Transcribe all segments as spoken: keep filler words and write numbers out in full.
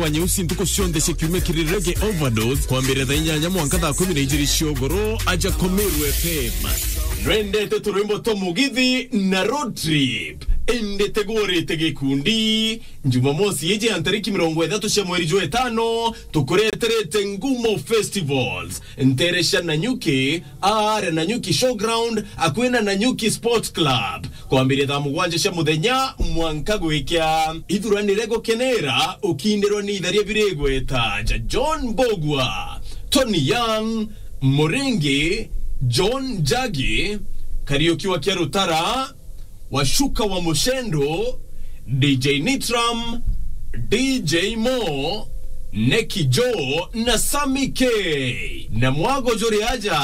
wa nyeusi ntuku cionthe cia kiumia kiri Reggae Overdose, kwambirira thaa inyanya mwanka thaa kumi na ijiri cia ugoro, aja Komeru F M. Nwendete turwimbo twa Mugithi na Road Trip? Indi tigurite gikundi. Jumamosi iji ya ntariki mirongo ithatu cia mweri jwa itano, tukureterete Ngumo Festivals, ntere cia Nanyuki, aare Nanyuki Showground, akui na Nanyuki Sports Club, kwambiria thaa mugwanja cia muthenya mwanka gwikia. Ithuranire gukenera ukindirwa ni itharia biri igweta ja John Mbugua, Tony Young, Muringi, John Njagi, Kariuki wa Kiarutara, Washuka wa Mushendo, D J Nitram, D J Mo, Neki Joe na Sammy K. Na mwago juri aja,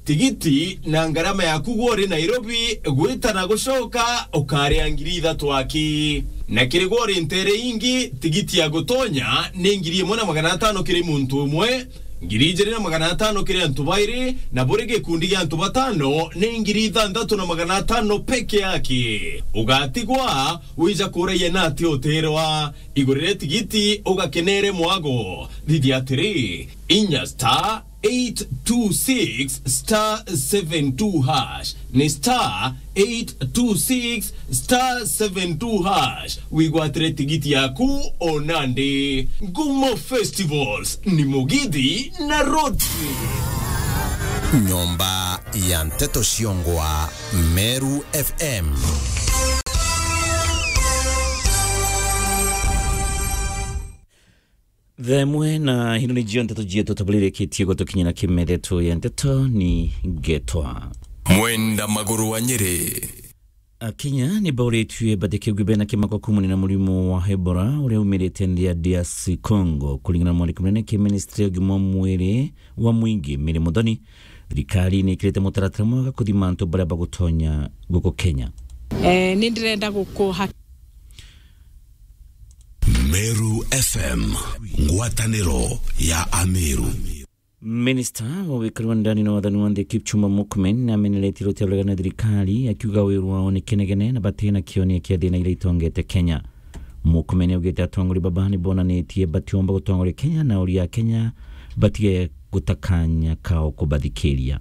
tigiti na ngarama yaku gwe uri Nairobi gwita na gucoka ukaria ngiri ithatu aki. Na kiri gwe uri ntere ingi, tigiti ya gutonya ni ngiri imwe na magana atano kiri muntu umwe, ngiri ijiri na magana atano kiri antu bairi, na buri gikundi gia antu batano ni ngiri ithanthatu na magana atano peke yake. Ugatigwa wija kuraia na ati utirwa. Igurire tigiti ugakenere mwago. Thithia atiri, inya star eight two six star seven two hash. Ni star eight two six star seven two hash. Wigwatire tigiti yaku o nandi. Ngumo Festivals ni Mugithi na Road Trip. Nyomba ya nteto ciongwa Meru F M. Thaa imwe na ino ni jio nteto jietu tabulirikitie gutukinyira kimethetu ya nteto ni ngetwa Mwenda Maguru wa Nyeri. Akenya ni bauritue batikigwe bena kimako kumania na murimo wa Ebola uria umirite nthi ya D R C Congo, kuringana na mwandiki munene ki ministry ya ugima wa mwiri wa mwingi, Mary Muthoni. Thirikari ni ikirite mutaratara mwega kuthima antu baria bagutonya guku Kenya. Eh, ni ndirenda gukuha Meru F M, ngwataniro ya Ameru. Minista wa wikari wa ndani na wathani wa nthi Kipchumba Murkomen nameneretie ruteere rwa uregani na thirikari, akiuga wiru wao ni kinegene na batina kionia kia thina iria itongete Kenya. Murkomen augite atongoria baba ni bonanitie batiumba gutongoria Kenya na uria Kenya batige guta kanya kao kubathikiria.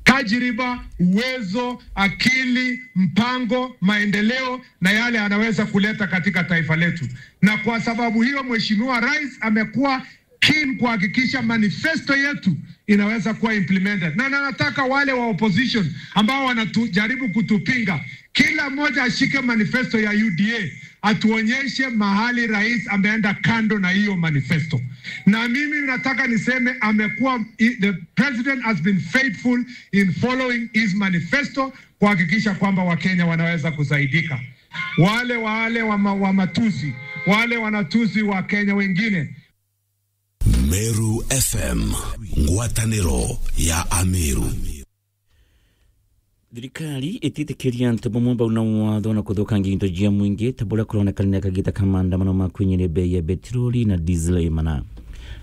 Tajriba, uwezo, akili, mpango, maendeleo na yale anaweza kuleta katika taifa letu. Na kwa sababu hiyo, Mheshimiwa Rais amekuwa keen kuhakikisha manifesto yetu inaweza kuwa implemented. Na, na nataka wale wa opposition ambao wanajaribu kutupinga, kila mmoja ashike manifesto ya U D A, atuonyeshe mahali rais ameenda kando na hiyo manifesto. Na mimi nataka niseme amekuwa, the president has been faithful in following his manifesto kuhakikisha kwamba Wakenya wanaweza kusaidika. Wale, wale wa ma-, wa matusi, wale wanatusi wa Kenya wengine. Meru F M, ngwataniro ya Ameru. Thirikari ititikiria antu bamwe bau na watho na kuthukangia into jia mwingi, ta buria kuronekana ni kagita ka maandamano ma kwinyiria bei ya betiroli na diesel imana.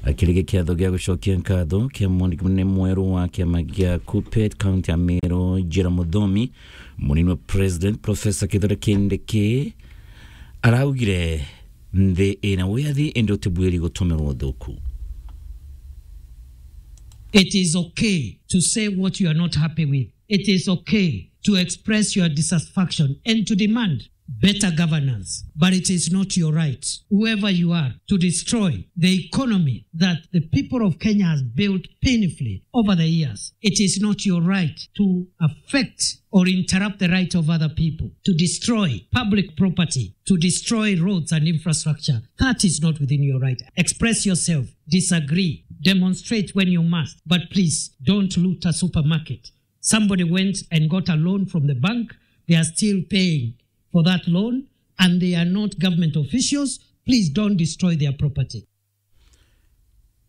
Akirigia kiatho gia gucokia nkatho kia mwandiki munene mweru wa kiama gia KUPPET kaunti ya Meru, Njira Muthomi, munini wa President Professor Kithure Kindiki araugire, nthi ina wiathi indi utibwiri gutumirwa uthuku. It is okay to say what you are not happy with. It is okay to express your dissatisfaction and to demand better governance, but it is not your right, whoever you are, to destroy the economy that the people of Kenya has built painfully over the years. It is not your right to affect or interrupt the right of other people, to destroy public property, to destroy roads and infrastructure. That is not within your right. Express yourself, disagree, demonstrate when you must, but please don't loot a supermarket. Somebody went and got a loan from the bank. They are still paying for that loan, and they are not government officials. Please don't destroy their property.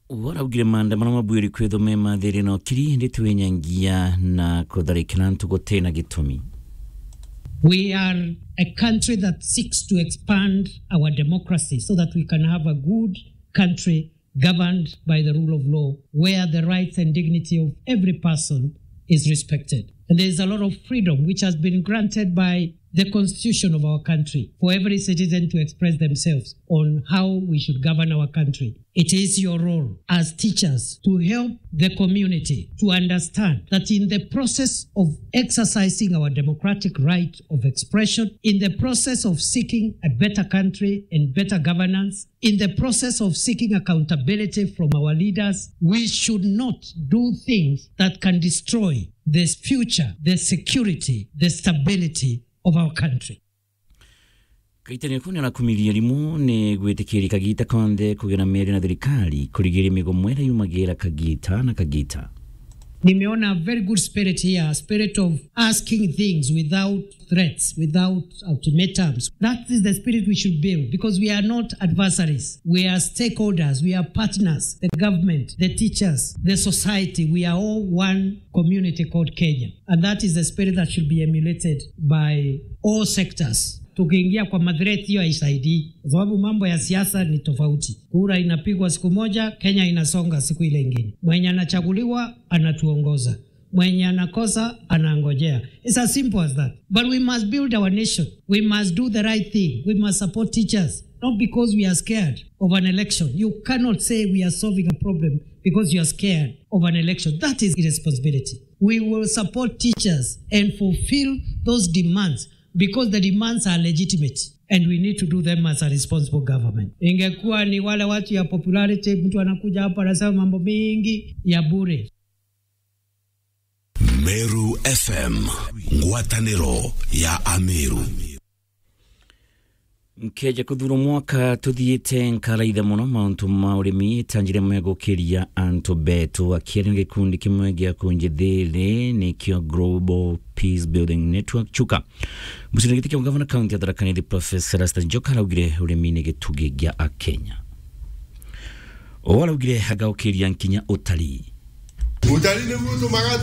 Waraugire maandamano mabwiri kwithwo me mathiri na ukiri, indi ti winyangia na kutharikira antu gutina gitumi. We are a country that seeks to expand our democracy so that we can have a good country governed by the rule of law, where the rights and dignity of every person is respected. And there is a lot of freedom which has been granted by the constitution of our country for every citizen to express themselves on how we should govern our country. It is your role as teachers to help the community to understand that in the process of exercising our democratic right of expression, in the process of seeking a better country and better governance, in the process of seeking accountability from our leaders, we should not do things that can destroy the future, the security, the stability of our country. Kaitania kuni arakumiria rimu ni gwitikiria kagita konthe kugira miario na thirikari kurigiria migomo iria yumagira kagita na kagita. Nimeona a very good spirit here, a spirit of asking things without threats, without ultimatums. That is the spirit we should build, because we are not adversaries. We are stakeholders, we are partners, the government, the teachers, the society. We are all one community called Kenya. And that is the spirit that should be emulated by all sectors. Tukiingia kwa mathreat hiyo haisaidii, kwa sababu mambo ya siasa ni tofauti. Kura inapigwa siku moja, Kenya inasonga siku ile ingine. Mwenye anachaguliwa anatuongoza, mwenye anakosa anangojea. It's as simple as that. But we must build our nation. We must do the right thing. We must support teachers, not because we are scared of an election. You cannot say we are solving a problem because you are scared of an election. That is irresponsibility. We will support teachers and fulfill those demands because the demands are legitimate and we need to do them as a responsible government. Ingekuwa ni wale watu ya popularity, mtu anakuja hapa anasema mambo mingi ya bure. Meru F M, ngwataniro ya Ameru. Nkeja kuthurwo mwaka tuthiite, nkaraitha mono mauntu ma urimi ta njira imwe ya gukiria antu betu. Akiaria na gikundi kimwe gia kunjithiri, nikio Global Peace Building Network, Chuka, mucindani giti kia gavana kaunti ya Tharaka Nithi, Professor Erastus Njoka, araugire urimi ni gitugi gia Akenya. O araugire agaukiria nkinya utari. Utari ni muntu magatu